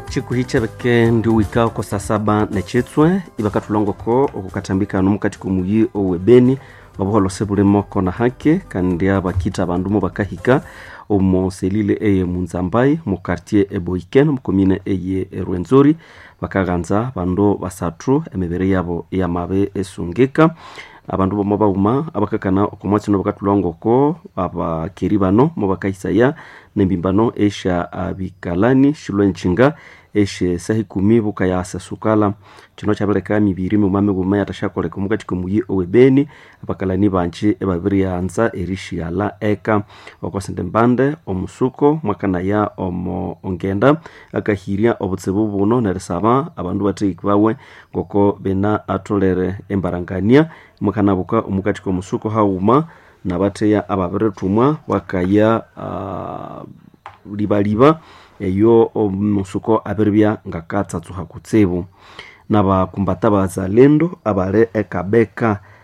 Chikuhi chabeke ndi wika oko saa saba nechitswe ibakathulongoko okukathambikano mukati komuyi owe Beni. Obuholose bulimo kona hake kandi abakita abandu mubakahika omo selile eye Munzambai mu quartier eBoiken mu commune eye Rwenzori. Bakaghanza bandu basathu emibiri yabo yamabe esungika. Abandu bomo baghuma abakakana okomwatsi bakathulhangoko abakeri bano mubakahisaya nembimbano esya abikalani shilwe nchinga esye saha ikumi bukayasasukala. Kino kyabileka emibiri mighuma mighuma yathasyakoleka omukati komuyi owe Beni. Abakalani bangi ibabiryanza erishighalha eka. Okosindi mbande omusuko mwakanaya omo ngenda akahirya obutsibu buno nerisaba abandu bathahiki bawe ngoko bina atholere embarangania. Mukanabuka omukati komusuko haghuma nabatheya ababirithumwa bakaya libaliba eyo omusuko abiribya ngakatsatsuha kutsibu. Nabakumbata abazalendo abali ekabeka.